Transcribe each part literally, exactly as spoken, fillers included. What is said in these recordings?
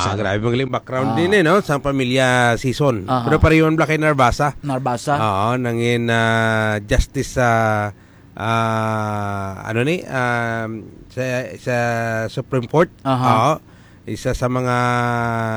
Ah, grabe, magaling background Ah. din eh, no? Sa pamilya season. Aha. Pero pareho man bala kay Narvasa. Narvasa. Oo, nangin, ah, justice sa, ah, ano ni, um, sa, sa Supreme Court. Aha. Oo. Isa sa mga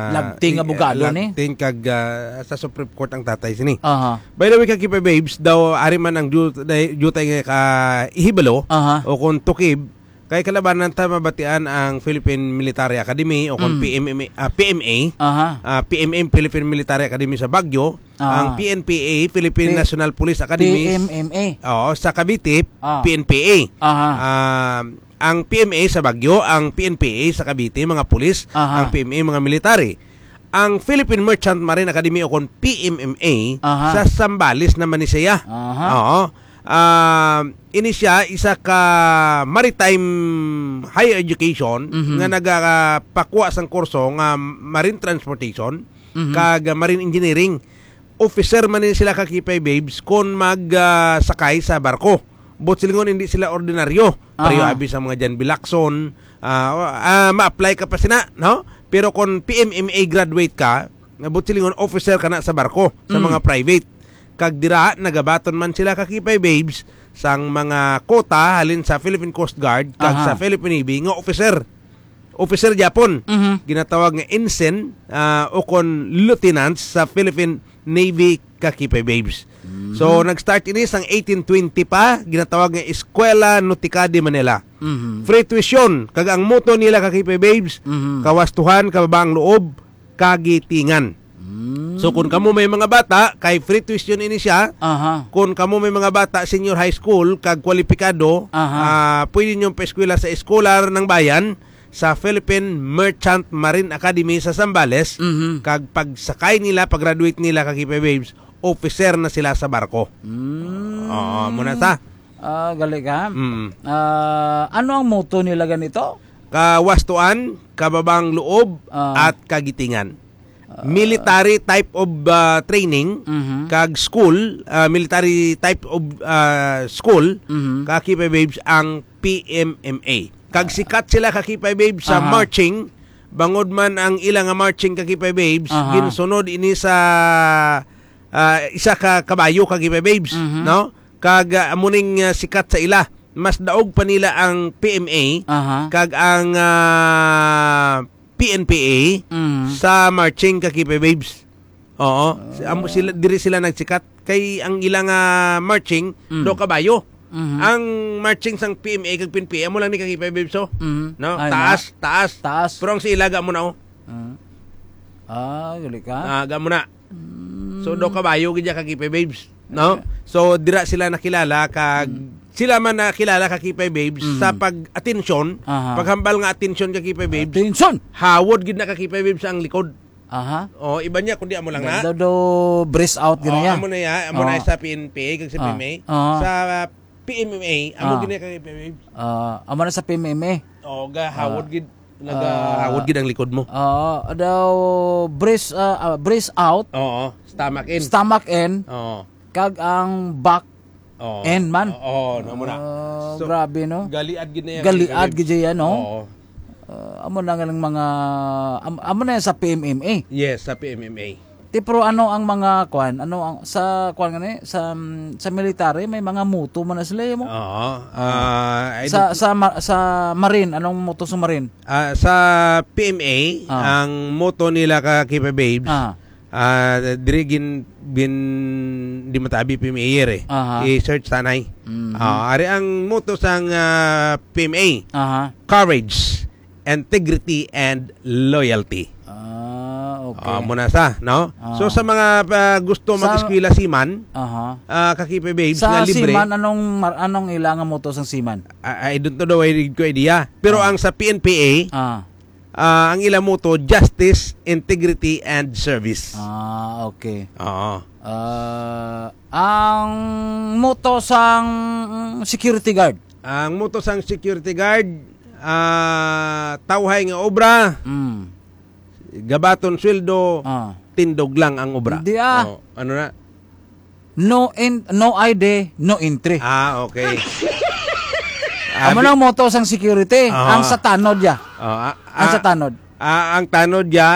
Labting i-, abogado ni? labting kag, ah, sa Supreme Court ang tatay sini. Aha. By the way, Kakipa Babes, daw ari man ang diyu-, day-, diyutay nga ka-, ihibalo Aha. o kung tukib, kay kalabanan ta mabatian ang Philippine Military Academy o kung Mm. P M M A, ah, P M A, Aha. ah, P M M, Philippine Military Academy sa Baguio, Ah. ang P N P A, Philippine P-, National Police Academy, P M M A. oo, sa Cavite, Ah. P N P A. Aha. Ah, ang P M A sa Baguio, ang P N P A sa Cavite, mga pulis, Aha. ang P M A, mga military. Ang Philippine Merchant Marine Academy o kon P M M A Aha. sa Zambales naman ni siya. Aha. Oo. Ah, ini siya isa ka maritime higher education Mhm. nga nagapakuha sang kurso nga marine transportation Mhm. kag marine engineering. Officer man ni sila, Kakipa Babes, kon mag, ah, sakay sa barko. Buot silingon, hindi sila ordinaryo. Pareho Aha. abi sa mga John B. Lacson, ah, ah, ma-apply ka pa sina, no? Pero kon P M M A graduate ka, buot silingon, officer ka na sa barko, sa Mm. mga private. Kag dira, nagabaton man sila, Kakipa Babes, sang mga quota halin sa Philippine Coast Guard kag Aha. sa Philippine Navy nga officer. Officer gyapon. Mhm. Ginatawag nga ensign, ah, o kon lieutenants sa Philippine Navy, Kakipa Babes. Mhm. So, nag-start ini sang eighteen twenty pa, ginatawag nga Escuela Nautica de Manila. Mhm. Free tuition, kag ang motto nila, Kakipa Babes, Mhm. kawastuhan, kababaang loob, kagitingan. Mm. So, kung kamo may mga bata, kay free tuition ini siya. Aha. Kung kamo may mga bata, senior high school, kag kwalipikado, Aha. ah, pwede nyo paeskwela sa Eskwela ng Bayan, sa Philippine Merchant Marine Academy sa Zambales, Mhm. kag pagsakay nila, pag-graduate nila, Kakipa Babes, officer na sila sa barko. Mm. Oo, muna sa. Ah, gali ka. Mm. Ah, ano ang motto nila ganito? Kawastuan, kababaang loob, Ah. at kagitingan. Ah. Military type of, ah, training, Mhm. kag school, ah, military type of, ah, school, Mhm. Kakipa Babes, ang P M M A. Kag Ah. sikat sila, Kakipa Babes, sa Aha. marching, bangod man ang ila nga marching, Kakipa Babes, Aha. ginsunod ini sa, ah, isa ka kabayo, Kakipa Babes, Mhm. no? Kag, ah, amo ning, ah, sikat sa ila. Mas daog pa nila ang P M A Aha. kag ang, ah, P N P A Mhm. sa marching, Kakipa Babes. Oo. Ah. Si-, amo sila, diri sila nagsikat. Kay ang ilang, ah, marching, Mm. do kabayo. Mhm. Ang marching sang P M A kag P N P A, amo lang ni, Kakipa Babes, oh. Mhm. No? Ay, Taas, na. taas. Taas. Pero ang sa ila, ga mo na, oh. Ah. Ah, gali ka? Ah, ga mo na. Mm. So, do kabayo gid ya, Kakipa Babes, no? Okay. So, dira sila nakilala kag Mm. sila man nakilala, Kakipa Babes, Mm. sa pag-atensyon, Aha. paghambal nga atensyon, Kakipa Babes. Atensyon! Hawod gid na, Kakipa Babes, ang likod. Aha. Oh, iba niya, kundi amo lang na. Do, do, brace out gid Oh, na ya. amo na ya. Amo na Oh. sa P N P A kag sa Ah. P M A. Ah. Sa P M M A, amo Ah. gid na, Kakipa Babes. Ah, amo na sa P M M A. Oh, ga hawod Ah. gid, naga Ah. hawod gid ang likod mo. Ah, daw brace, ah, ah, brace out, Oo, stomach in. stomach in, Oo. kag ang back Oo. in man. Oo, na mo na. Ah, So, grabe, no? galiad gid na yan, Galiad Kakipa Babes. gid yan, no? Oo. Ah, amo na nga lang mga, am-, amo na yan sa P M M A. Yes, sa P M M A. Ti, pero ano ang mga kwan? Ano ang, sa kwan nga ni? Sa, sa military, may mga motto man na sila, eh, mo? Oo. Ah, I Sa, don't sa ma-, sa Marine, anong motto sa Marine? Ah, sa P M A, Ah. ang motto nila, Kakipa Babes, Ah. ah, diri gin-, gin-, di matabi P M A year, eh. Aha. I-search tanay. Mhm. Ah, ari ang motto sang, ah, P M A. Aha. Courage, integrity, and loyalty. Ah, okay. Ah, muna sa, no? Ah. So, sa mga, ah, gusto Sa mag-eskwela seaman, Aha. ah, Kakipa Babes, Sa nga libre. seaman, anong mar-, anong ila nga motto sang seaman? Ah, I don't know, I did ko idea. Pero Ah. ang sa P N P A, Ah. ah, ang ila motto, justice, integrity, and service. Ah, okay. Oo. Ah, ang motto sang security guard? Ang motto sang security guard, ah, tawhay nga obra, Mm. gabaton sweldo, Ah. tindog lang ang obra. Hindi, ah. Oh, ano na? No en-, no I D, no entry. Ah, okay. Amo Abi- nang motto sang security, Ah. ang sa tanod ya. Oh, ah, Ang sa ah, tanod. ah, ang tanod ya,